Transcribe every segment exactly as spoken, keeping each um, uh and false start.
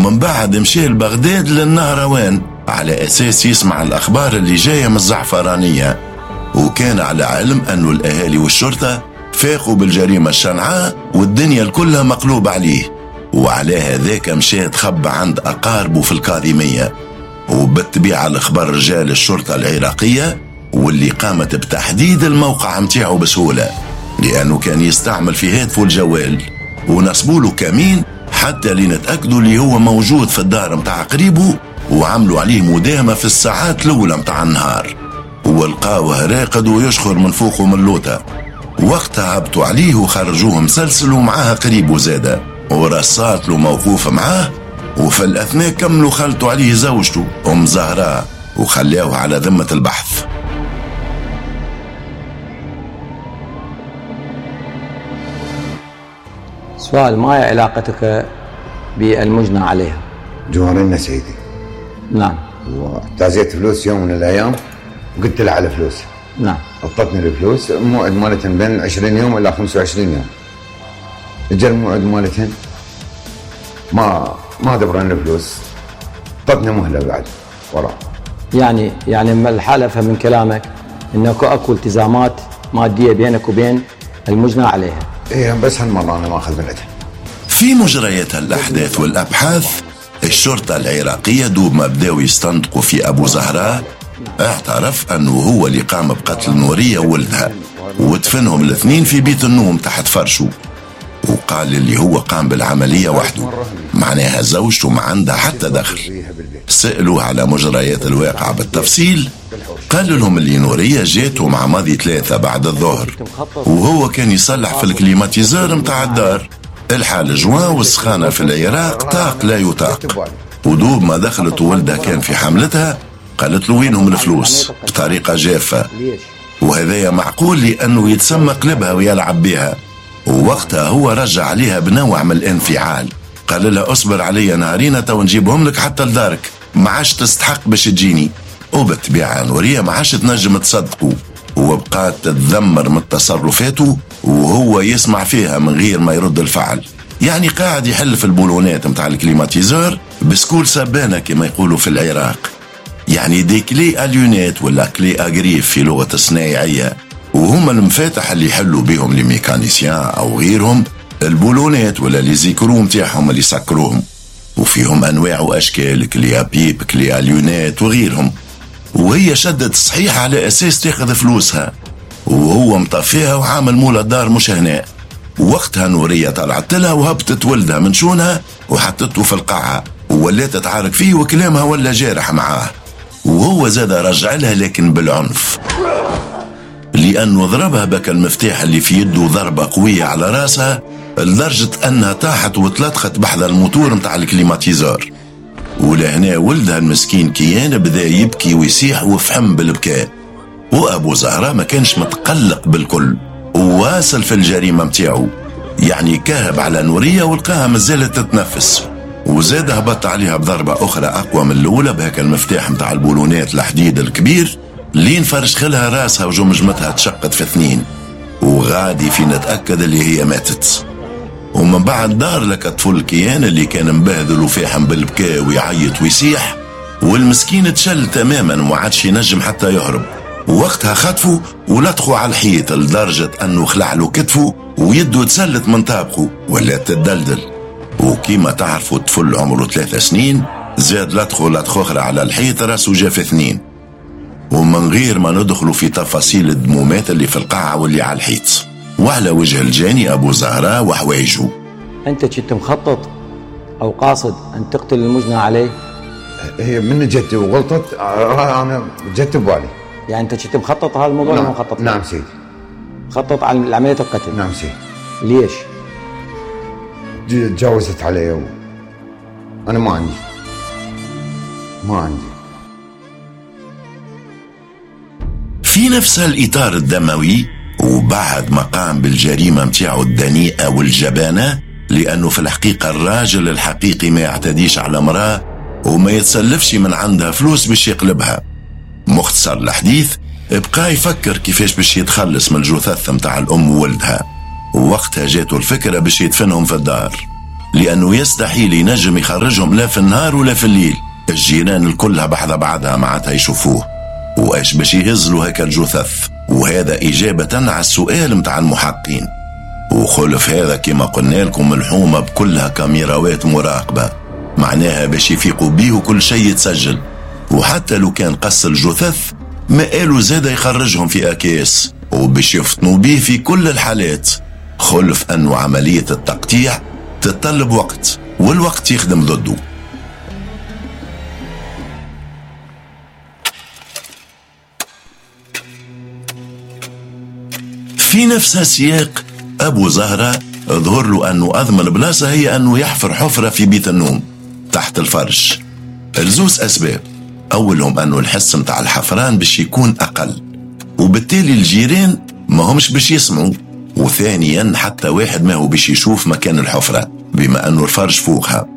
ومن بعد مشى لبغداد للنهروان على أساس يسمع الأخبار اللي جاية من الزعفرانية. وكان على علم أنه الأهالي والشرطة فاقوا بالجريمة الشنعاء والدنيا كلها مقلوب عليه، وعلى هذاك مشى تخبى عند أقاربه في الكاظمية. وبالطبيعة الأخبار رجال الشرطة العراقية واللي قامت بتحديد الموقع متاعه بسهولة، لأنه كان يستعمل في هاتفه الجوال، ونصبوا له كمين حتى لنتأكدوا اللي هو موجود في الدار متاع قريبه، وعملوا عليه مداهمة في الساعات الأولى متاع النهار، ولقاوه راقد ويشخر من فوقه من لوطة. وقتها هبطوا عليه وخرجوه مسلسل ومعاه قريبه زادة، ورصات له موقوف معاه. وفي الأثناء كملوا خلطوا عليه زوجته أم زهراء وخلاوه على ذمة البحث. سؤال: ما هي علاقتك بالمجنى عليها؟ جوارنا سيدي. نعم. وتعزيت فلوس يوم من الأيام وقلت لها على فلوس. نعم. أعطتني الفلوس، الموعد مالتهن بين عشرين يوم إلى خمسة وعشرين يوم. اجى الموعد مالتهن ما ما دبرن الفلوس، اعطتني مهلة بعد وراء. يعني يعني الحالة أفهم من كلامك إنه أكو التزامات مادية بينك وبين المجنى عليها. إيه بس هالمرة أنا ما أخذ من عندها. في مجريات الأحداث والأبحاث الشرطة العراقية دوب ما بداوا يستنطقوا في أبو زهراء اعترف أنه هو اللي قام بقتل نورية وولدها ودفنهم الاثنين في بيت النوم تحت فرشه، وقال اللي هو قام بالعملية وحده، معناها زوجته ما عندها حتى دخل. سألوه على مجريات الواقعة بالتفصيل، قال لهم اللي نورية جاته مع ماضي ثلاثة بعد الظهر وهو كان يصلح في ال climatiseur متاع الدار. الحال جوان والسخانة في العراق طاق لا يطاق، ودوب ما دخلت ولدها كان في حملتها قالت له وينهم الفلوس بطريقة جافة، وهذايا معقول لأنه يتسمى قلبها ويلعب بها. ووقتها هو رجع عليها بنوع من الانفعال، قال لها اصبر علي نهارين تو نجيبهم لك حتى لدارك، ما عادش تستحق باش تجيني. وبالطبيعة نورية ما عادش تنجم تصدقه، وبقات تتذمر من تصرفاته وهو يسمع فيها من غير ما يرد الفعل. يعني قاعد يحل في البولونات متاع ال climatiseur بسكول سبانة كما يقولوا في العراق، يعني des clés à lunettes ولا clés à griffes في لغة الصنايعية، وهما المفاتح اللي يحلوا بهم les mécaniciens او غيرهم البولونات ولا les écrous متاعهم اللي سكروهم، وفيهم انواع واشكال، clé à pipe، clé à lunettes وغيرهم. وهي شدت صحيح على اساس تاخذ فلوسها، وهو مطفيها وعامل مولا الدار مش هنا. وقتها نورية طلعت لها وهبطت ولدها من شونها وحطته في القاعة وولات تتعارك فيه وكلامها ولا جارح معاه، وهو زاد رجع لها لكن بالعنف، لأنه ضربها بك المفتاح اللي في يده ضربة قوية على راسها لدرجة أنها طاحت وتلطخت بحذا الموتور متاع ال climatiseur. ولهنا ولدها المسكين كيان بدا يبكي ويسيح وفحم بالبكاء، وأبو زهراء ما كانش متقلق بالكل وواصل في الجريمة متاعه، يعني كهب على نورية ولقاها مازالت تتنفس، وزاد هبط عليها بضربة أخرى أقوى من الأولى بهاك المفتاح متاع البولونات الحديد الكبير لين فرشخلها راسها وجمجمتها تشقت في اثنين، وغادي في نتأكد اللي هي ماتت. ومن بعد دار لك الطفل كيان اللي كان مبهذل وفاحم بالبكاء ويعيط ويسيح، والمسكين تشل تماما وما عادش ينجم حتى يهرب. ووقتها خطفه ولطخوا على الحيط لدرجة أنه خلع له كتفه ويده تسلت من طابقه ولا تدلدل. وكيما تعرفوا الطفل عمره ثلاثة سنين زاد لطخه لطخ أخرى على الحيط راسه جا في اثنين. ومن غير ما ندخلوا في تفاصيل الدمومات اللي في القاعة واللي على الحيط وعلى وجه الجاني أبو زهراء وحوايجه. أنت كنت مخطط أو قاصد أن تقتل المجنى عليه؟ هي من جت وغلطت أنا جت ببالي. يعني أنت كنت مخطط هذا الموضوع؟ نعم. ولا مخطط؟ نعم سيدي. مخطط على عملية القتل؟ نعم سيدي. ليش؟ تجاوزت علي و... أنا ما عندي ما عندي. في نفس الإطار الدموي وبعد ما قام بالجريمة متاعه الدنيئة والجبانة، لأنه في الحقيقة الراجل الحقيقي ما يعتديش على امرأة وما يتسلفش من عندها فلوس باش يقلبها. مختصر الحديث بقى يفكر كيفاش باش يتخلص من الجثث متاع الأم وولدها، ووقتها جاته الفكرة باش يدفنهم في الدار. لأنه يستحيل ينجم يخرجهم لا في النهار ولا في الليل، الجيران الكلها بحذا بعدها معناتها يشوفوه، وإيش باش يهزلوا هكا الجثث؟ وهذا إجابة على السؤال متاع المحقين. وخلف هذا كما قلنا لكم الحومة بكلها كاميراوات مراقبة، معناها باش يفيقوا بيه وكل شيء يتسجل، وحتى لو كان قص الجثث ما قالوا زاد يخرجهم في أكياس وباش يفطنوا بيه في كل الحالات. خلف أنه عملية التقطيع تتطلب وقت، والوقت يخدم ضده. في نفس السياق أبو زهرة ظهر له أنه أضمن بلاصة هي أنه يحفر حفرة في بيت النوم تحت الفرش، لزوز أسباب. أولهم أنه الحس متاع الحفران باش يكون أقل، وبالتالي الجيران ما همش باش يسمعوا، وثانيا حتى واحد ما هو باش يشوف مكان الحفرة بما أنه الفرش فوقها.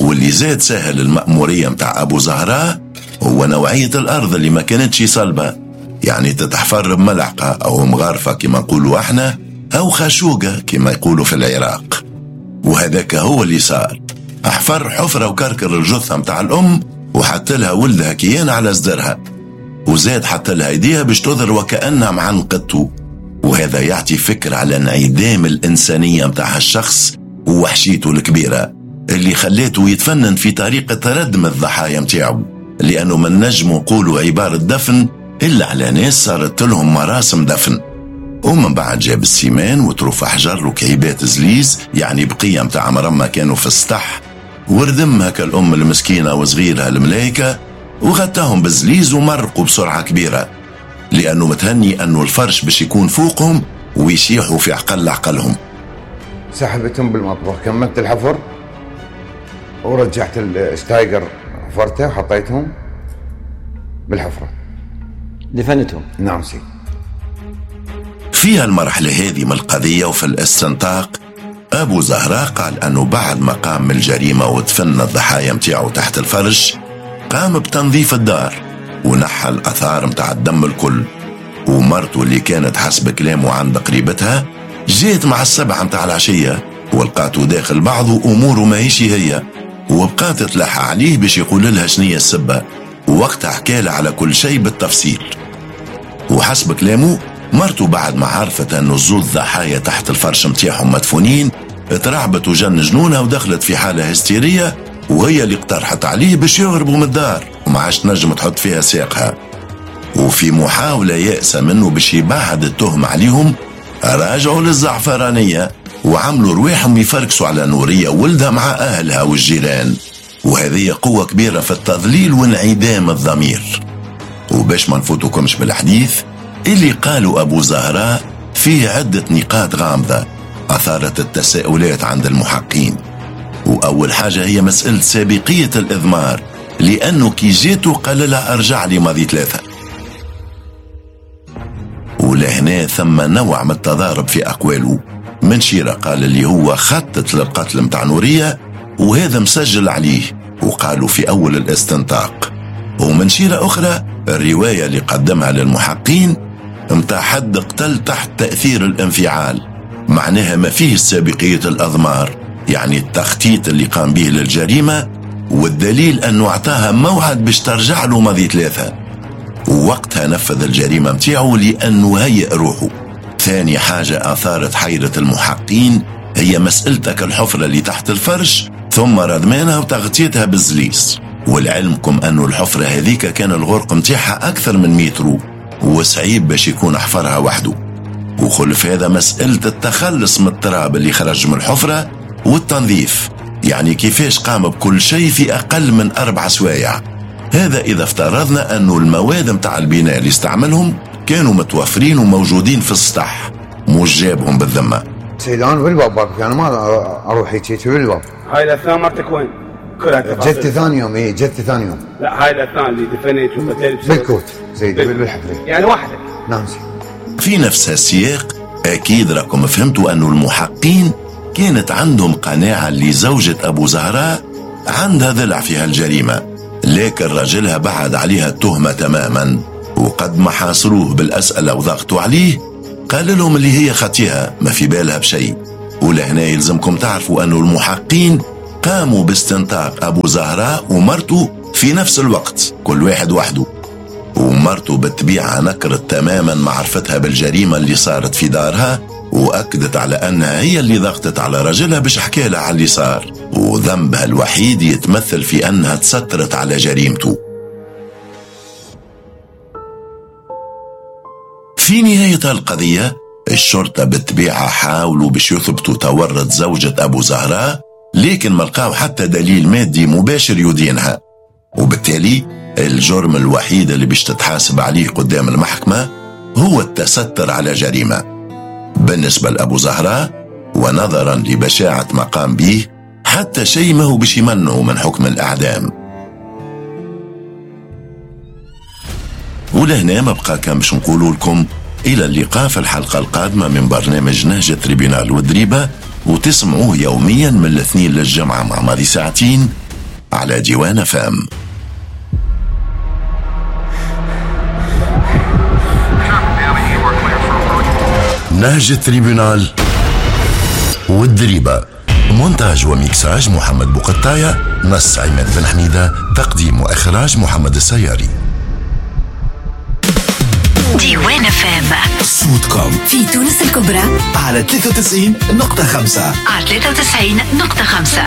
واللي زاد سهل المأمورية متاع أبو زهراء هو نوعية الأرض اللي ما كانتش صلبة، يعني تتحفر بملعقة أو مغارفة كما نقولوا احنا، أو خاشوقة كما يقولوا في العراق. وهذاك هو اللي صار، احفر حفرة وكركر الجثة متاع الأم وحط لها ولدها كيان على صدرها، وزاد حط لها ايديها باش تظهر وكأنها معنقته. وهذا يعطي فكرة على انعدام الإنسانية متاع هالشخص ووحشيته الكبيرة اللي خليته يتفنن في طريقة ردم الضحايا متاعه، لأنه من نجم نقولوا عبارة دفن إلا على ناس صارت لهم مراسم دفن. ومن بعد جاب السيمان وطروف حجر وكعيبات زليز، يعني بقية متاع مرمى كانوا في السطح، وردم هكا الأم المسكينة وصغيرها الملايكة وغطاهم بالزليز ومرقوا بسرعة كبيرة، لأنه متهني أنه الفرش باش يكون فوقهم ويشيحوا في عقل عقلهم. سحبتهم بالمطبخ، كملت الحفر ورجعت الشتايجر حفرته وحطيتهم بالحفرة، دفنتهم. نعم سي. في المرحلة هذه من القضية وفي الاستنطاق، أبو زهراء قال أنه بعد ما قام من الجريمة ودفن الضحايا متاعه تحت الفرش، قام بتنظيف الدار ونحى الأثار متاع الدم الكل. ومرته اللي كانت حسب كلامه عند قريبتها جات مع السبعة متاع العشية ولقاته داخل بعضه أموره ما هيش هي، وبقات تلحى عليه باش يقول لها شنية السبة، ووقتها حكالها على كل شيء بالتفصيل. وحسب كلامه مرته بعد ما عرفت أنه الزوز ضحايا تحت الفرش متاعهم مدفونين ترعبت وجن جنونها ودخلت في حالة هستيرية، وهي اللي اقترحت عليه باش يهربوا من الدار وما عادش تنجم تحط فيها ساقها. وفي محاولة يأسة منه باش يبعد التهم عليهم، راجعوا للزعفرانية وعملوا رواحهم يفركسوا على نورية ولدها مع أهلها والجيران. وهذه قوة كبيرة في التضليل وانعدام الضمير. وباش ما نفوتكمش بالحديث اللي قالوا أبو زهراء فيه عدة نقاط غامضة أثارت التساؤلات عند المحقين. وأول حاجة هي مسألة سابقية الإضمار، لأنه كي جيته قال لها أرجع لي ماضي ثلاثة. ولهنا ثم نوع من التضارب في أقواله. من شيرة قال اللي هو خطط للقتل متاع نورية وهذا مسجل عليه وقالوا في أول الاستنطاق، ومن شيرة أخرى الرواية اللي قدمها للمحقين متاع حد قتل تحت تأثير الانفعال، معناها ما فيه سابقية الأضمار، يعني التخطيط اللي قام به للجريمة، والدليل أنه أعطاها موعد باش ترجع له ماضي ثلاثة، ووقتها نفذ الجريمة متاعه لأنه هيئ روحه. ثاني حاجة أثارت حيرة المحقين هي مسألتك الحفرة اللي تحت الفرش ثم ردمانها وتغطيتها بالزليس. والعلمكم أنه الحفرة هذيك كان الغرق متاعها أكثر من مترو وصعيب باش يكون حفرها وحده. وخلف هذا مسألة التخلص من التراب اللي خرج من الحفرة والتنظيف، يعني كيفاش قام بكل شيء في أقل من أربع سوايع. هذا إذا افترضنا أنه المواد متاع البناء اللي استعملهم كانوا متوفرين وموجودين في السطح، مش جابهم بالذمة. سيدان بالباب باك، أنا ما أروح هيك بالباب. هاي الأثناء مرتك وين؟ كلها تفاصيل. جت ثاني يوم، إيه جت ثاني يوم. لا هاي الأثناء اللي دفنت وقتلت بالكوت سيدي بالحفرة. يعني وحدك. نعم سيدي. في نفس السياق أكيد راكم فهمتوا أنه المحقين كانت عندهم قناعة اللي زوجة أبو زهراء عندها ضلع في هالجريمة، لكن رجلها بعد عليها التهمة تماما، وقد ما حاصروه بالأسئلة وضغطوا عليه قال لهم اللي هي خطيها ما في بالها بشيء. ولهنا يلزمكم تعرفوا أنه المحقين قاموا باستنطاق أبو زهراء ومرته في نفس الوقت، كل واحد وحده. ومرته بالطبيعة نكرت تماما معرفتها بالجريمة اللي صارت في دارها، وأكدت على أنها هي اللي ضغطت على رجلها باش حكالها على اللي صار، وذنبها الوحيد يتمثل في أنها تسترت على جريمته. في نهاية القضية الشرطة بالطبيعة حاولوا باش يثبتوا تورط زوجة أبو زهراء، لكن ما لقاو حتى دليل مادي مباشر يدينها، وبالتالي الجرم الوحيد اللي باش تتحاسب عليه قدام المحكمة هو التستر على جريمة. بالنسبة لأبو زهراء ونظرا لبشاعة ما قام به، حتى شيء ما هو باش يمنعه من حكم الإعدام. ولهنا ما بقى كان باش نقولوا لكم إلى اللقاء في الحلقة القادمة من برنامج نهج tribunal والدريبة، وتسمعوه يوميا من الاثنين للجمعة مع ماضي ساعتين على ديوان فام. نهج tribunal والدريبة، مونتاج وميكساج محمد بوقطاية، نص عماد بن حميدة، تقديم وإخراج محمد السياري. ديوان فام صوتكم في تونس الكبرى على ثلاثة وتسعين نقطة خمسة، على ثلاثة وتسعين نقطة خمسة.